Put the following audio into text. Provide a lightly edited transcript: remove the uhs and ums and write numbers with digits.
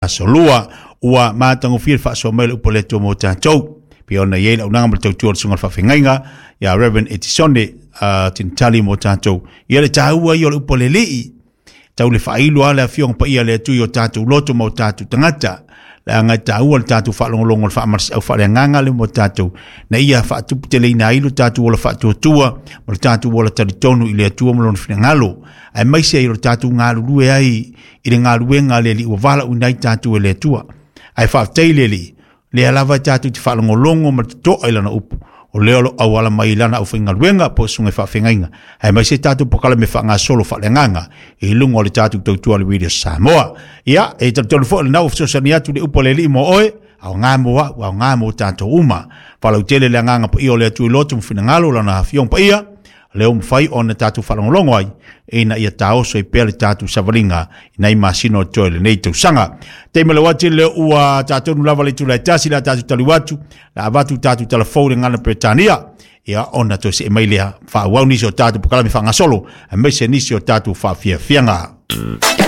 Aso Lua ua matagofie le faasoa mai o le upu a le Atua mo tatou. Pei ona i ai le auaunaga ma le tautua a le Susuga i le Faafeagaiga ia Reverend Etisone Tinitali mo tatou. Ia le taua ia o le upu a le Alii, tau le faailo lava le Afioga Paia a le Atua i o tatou loto ma o tatou tagata, leaga e taua le tatou faalogologo i le faamalosiau faaleagaga lea mo tatou, ina ia faatuputeleina ai lo tatou ola faatuatua ma lo tatou ola talitonu i le Atua ma Lona finagalo, aemaise ai o le tatou galulue ai i le galuega a le Alii ua valaauina ai tatou e le Atua. Ae faafetai i le Alii, lea lava e tatou te faalogologo ma le totoa i Lana upu, o lea o lo o auala mai i Lana aufaigaluega po o susuga i faafeagaiga, aemaise tatou polokalame faagasolo faaleagaga i luga o le tatou tautua a le Radio Samoa. Ia, e talitonu foi o lena ua fesoasoani atu le upu a le Alii mo oe, aoga mo au, aoga mo tatou uma. Faalautele le agaga paia o le Atua i loto ma finagalo Lana Afioga Paia, lea ua mafai ona tatou faalogologo ai ina ia taoso ai pea le tatou savaliga i nai masina o totoe o lenei tausaga. Taimi le ati lea ua tatou lava le itula e 1 le a tatou taliu atu, le a avatu tatou talafou i le gagana Peretania, ia ona toe see mai lea faaauau nisi o tatou polokalame faagasolo aemaise nisi o tatou faafiafiaga.